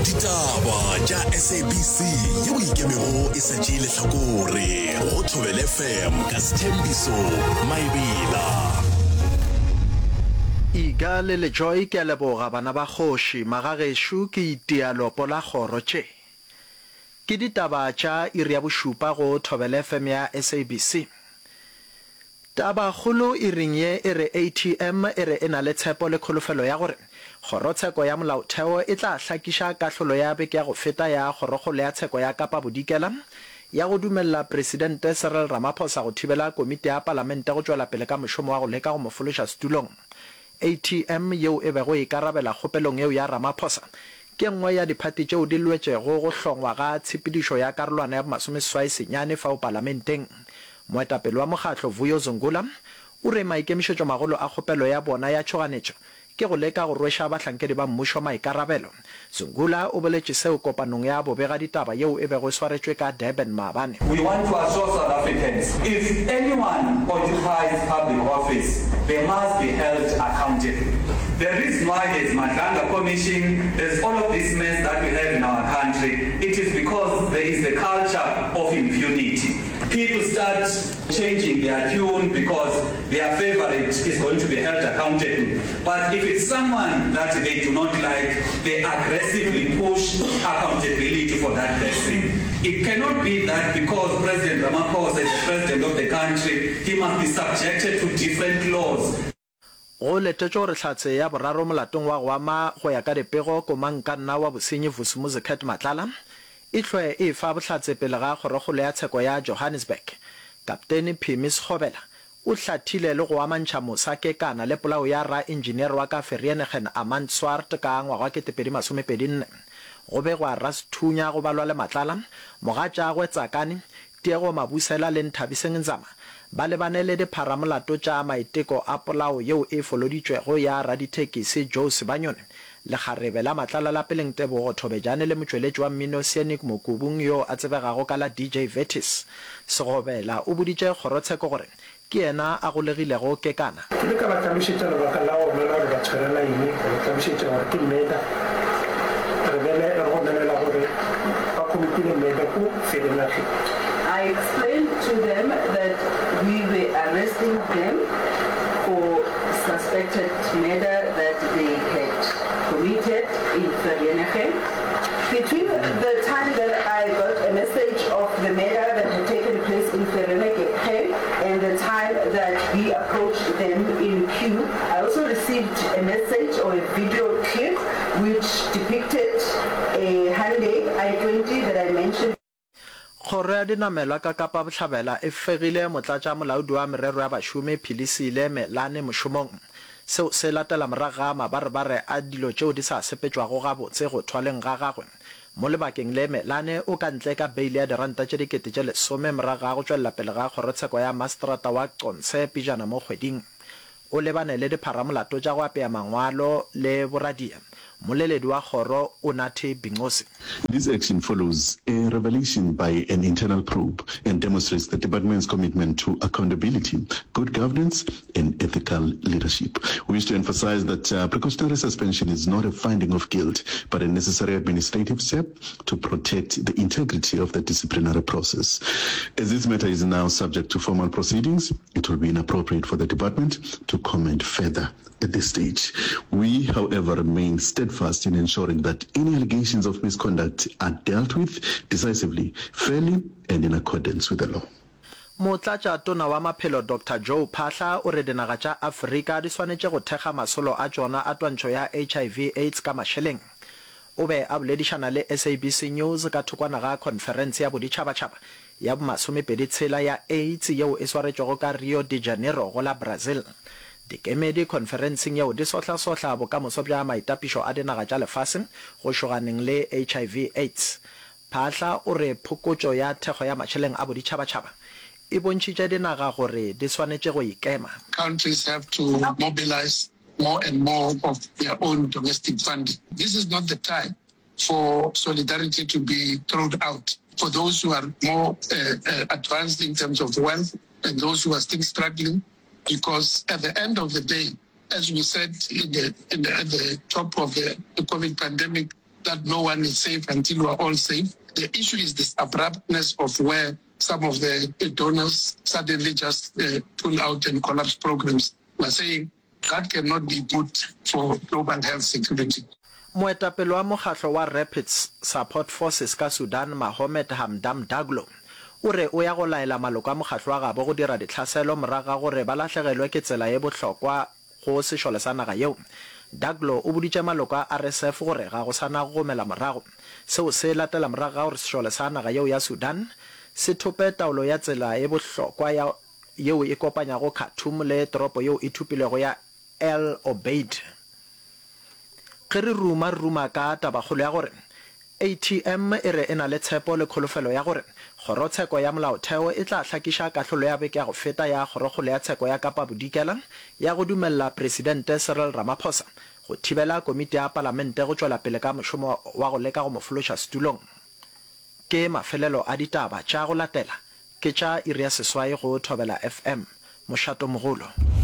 Ditaba tša SABC yeo e ikemego e sa tšee lehlakore go Thobela FM ka Sthembiso Maebela. Iga le Lejoy ke a leboga bana ba kgoši magagešo ke itia lopo la kgoro tše ke ditaba tša iri ya bošupa go Thobela FM ya SABC. Tabakgolo iring ye e re ATM e re e na le tshepo le kholofelo ya gore Kgorotsheko ya Molaotheo e tla hlakiša kahlolo ya beke ya go feta ya Kgorokgolo ya Tsheko ya Kapa Bodikela ya go dumelela Presidente Cyril Ramaphosa go thibela komiti ya Palamente go tšwela pele ka mošomo wa go leka go mo fološa setulong. ATM yeo e bego e ikarabela kgopelong yeo ya Ramaphosa ke nngwe ya diphathi tšeo di lwetšego go hlongwa ga tshepedišo ya karolwana ya bomasomeseswai senyane fao palamenteng. Moetapele wa mokgatlo Vuyo Zungula o re maikemišetšomagolo a kgopelo ya bona ya tšhoganetšo ke go leka go rweša bahlankedi ba mmušo maikarabelo. Zungula o boletše seo kopanong ya bobegaditaba yeo e bego e swaretšwe ka Durban maabane. We want to assure South Africans if anyone occupies public office they must be held accountable. The reason why there's Madlanga Commission, there's all of this mess that we have in our country, it is because there is the culture of impunity. People start changing their tune because their favourite is going to be held accountable. But if it's someone that they do not like, they aggressively push accountability for that person. It cannot be that because President Ramaphosa is the president of the country, he must be subjected to different laws. Go letetšwe gore hlatse ya boraro molatong wa go ama go ya ka dipego komangkanna wa bosenyi Vusumuzi Cat Matlala e hlwe e efa bohlatse pele ga kgorokgolo ya tsheko ya Johannesburg. Kaptene Phimi Sekgobela o hlathile le go amantšha Musa Kekana le polao ya raenjiniere wa ka Vereeniging Armand Swart ka ngwaga wa 2024. Go begwa rasethunya go balwa le Matlala, mogatšagwe Tsakani, Tiego Mabusela le Nthabiseng Nzama ba lebane le dipharamolato tša maiteko a polao yeo e foloditšwego ya radithekisi Joe Sibanyoni, lekgarebe la Matlala la Peleng Tebogo Thobejane le motšweletši wa mmino Scenic Mokubung yo a tsebegago ka la DJ Vertis. Segobela o boditše kgorotsheko gore ke yena a golegilego Kekana. Ke ile ka ba hlalošetša lebaka la gona la gore ba tshwarela eng, ka ba hlalošetša gore ke murder. Re bele re gomelela gore ba committile murder ko Vereeniging. I explained to them that we were arresting them for suspected murder that they had committed in Vereeniging. Between the time that I got a message of the murder that had taken place in Vereeniging and the time that we approached them in queue, I also received a message or a video clip which depicted a Hyundai i20 that I mentioned. Kgoro ya Dinamelwa ka Kapa Bohlabela e fegile Motlatšamolaodi wa Merero ya Bašomi Philisile Melane mošomong. Seo se latela morago ga mabarebare a dilo tšeo di sa sepetšwago gabotse go thwaleng ga gagwe. Mo lebakeng le, Melane o ka ntle ka beile ya diranta tše 10,000 morago ga go tšwelela pele ga kgorotsheko ya maseterata wa Qonce pejana mo kgweding. O lebane le dipharamolato tša go apea mangwalo le boradia. Mmoleledi wa kgoro, Unathi Binqose. This action follows a revelation by an internal probe and demonstrates the department's commitment to accountability, good governance and ethical leadership. We wish to emphasize that uh, precautionary suspension is not a finding of guilt, but a necessary administrative step to protect the integrity of the disciplinary process. As this matter is now subject to formal proceedings, it will be inappropriate for the department to comment further at this stage. We, however, remain steadfast in ensuring that any allegations of misconduct are dealt with decisively, fairly, and in accordance with the law. Motlatšatona wa Maphelo Doctor Joe Phaahla o re dinaga tša Afrika di swanetše go thekga masolo a tšona a twantšho ya HIV AIDS ka mašeleng. O be a boledišana le SABC News ka thokwana ga khonferense ya boditšhabatšhaba ya bomasomepedi tshela ya AIDS yeo e swaretšwego ka Rio de Janeiro go la Brazil. Dikemedi khonferenseng yeo di sohlasohla bokamoso bja maitapišo a dinaga tša lefase go šoganeng le HIV AIDS. Phaahla o re phokotšo ya thekgo ya mašeleng a boditšhabatšhaba e bontšhitše dinaga gore di swanetše go ikema. Countries have to mobilise more and more of their own domestic funding. This is not the time for solidarity to be thrown out for those who are more advanced in terms of wealth and those who are still struggling, because at the end of the day, as we said in the, in the, at the top of the, the COVID pandemic, that no one is safe until we are all safe. The issue is this abruptness of where some of the donors suddenly just uh, pull out and collapse programs. We're saying that cannot be good for global health security. Moetapele wa mokgatlo wa Rapid Support Forces ka Sudan Mahomed Hamdam Daglo o re o ya go laela maloko a mokgatlo wa gabo go dira ditlhaselo morago ga gore ba lahlegelwe ke tsela ye bohlokwa go sešole sa naga yeo. Daglo o boditše maloko a RSF gore ga go sa na go gomela morago. Seo se latela morago ga gore sešole sa naga yeo ya Sudan se thope taolo ya tsela ye bohlokwa ya yeo e kopanyago Khartoum le toropo yeo e thopilwego ya El Obeid. Ge re ruma, re ruma ka tabakgolo ya gore ATM e re e na le tshepo le kholofelo ya gore Kgorotsheko ya Molaotheo e tla hlakiša kahlolo ya beke ya go feta ya Kgorokgolo ya Tsheko ya Kapa Bodikela ya go dumelela Presidente Cyril Ramaphosa go thibela komiti ya Palamente go tšwela pele ka mošomo wa go leka go mo fološa setulong. Ke mafelelo a ditaba tša go latela ke tša iri ya seswai go Thobela FM, mošatomogolo.